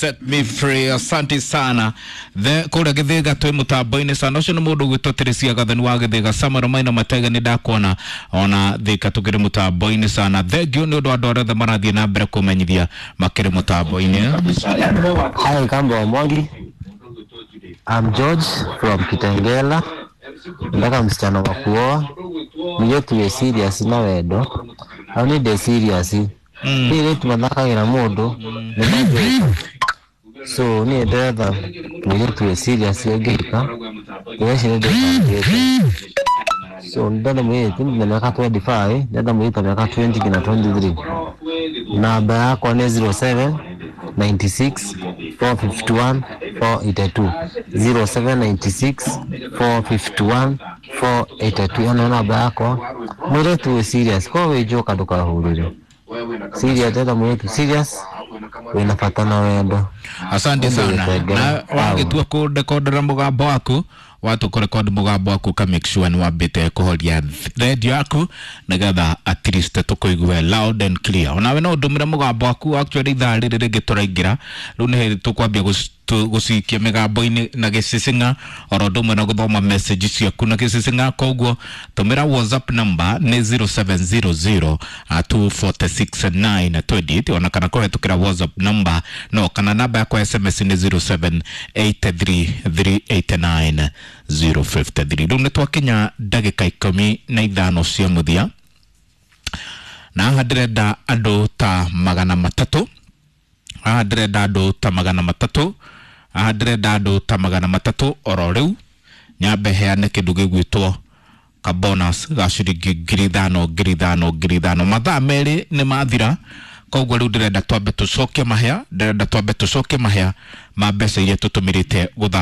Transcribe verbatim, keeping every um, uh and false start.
Set me free. Asante sana. The kũrĩa Gĩthĩga twĩ mũtambo-inĩ sana. Ũcio nĩ mũndũ ũgwĩtwo Teresia Gathani wa Gĩthĩga. Samuel Maina Matega nĩ ndakuona ona Thĩka tũkĩrĩ mũtambo-inĩ sana. Thank you nĩ ũndũ wa andũ arĩa othe marathiĩ na mbere kũmenyithia makĩrĩ mũtambo-inĩ. Hi, Kamba wa Mwangi. I'm George from Kitengela. Nataka msichana wa kuoa. Mũirĩtu wĩ serious na wendo. Au nĩ ndĩ serious. Airĩtu mathakagĩra mũndũ nĩ manjĩka. So niĩ ndĩretha mũirĩtu wĩ serious ũngĩhika. Ndĩreci nĩ ndĩbangĩte. So ndĩrenda mũirĩtu na mĩaka twenty-five, ndĩrenda mũirĩtu wa mĩaka twenty nginya twenty-three. Namba yakwa nĩ zero seven ninety-six four fifty-one four eighty-two, zero seven ninety-six four fifty-one four eighty-two. Ĩyo nĩyo namba yakwa. Mũirĩtu wĩ serious, korwo wĩ njoka ndũkahũrĩre. Serious, ndĩrenda mũirĩtu serious wĩna bata na wendo. Asante sana. Na wagĩtua kũrekondera mũgambo waku, watu kũrekodi mũgambo waku, ka make sure nĩ wambĩte kũhoria radio yaku nĩgetha at least tũkũigue loud and clear. Onawe no ũndũmĩre mũgambo waku. Actually, ithaa rĩrĩ rĩngĩ tũraingĩra rĩu nĩ hĩndĩ tũkwambia gũc- tũ- gũcikia mĩgambo-inĩ na gĩcicing'a, oro ũndũ ũmwe na gũthoma message ciaku na gĩcicing'a. Koguo tũmĩra WhatsApp number nĩ zero seven zero zero two four six nine two eight, ona kana kũhetũkĩra WhatsApp number no kana namba yakwa S M S nĩ zero seven eight three three eight nine zero five three. Rĩu nĩ twakinya ndagĩka ikũmi na ithano cia mũthia, na haha ndĩrenda andũ ta magana matatũ. Haha ndĩrenda andũ ta magana matatũ. Haha ndĩrenda andũ ta magana matatũ oro rĩu, nyambe heane kĩndũ gĩgwĩtwo ka bonus ga ciringi ngiri ithano, ngiri ithano, ngiri ithano. Mathaa merĩ nĩ mathira, koguo rĩu ndĩrenda twambe tũcokie mahĩa, ndĩrenda twambe tũcokie mahĩa ma mbeca iria tũtũmĩrĩte gũthaka.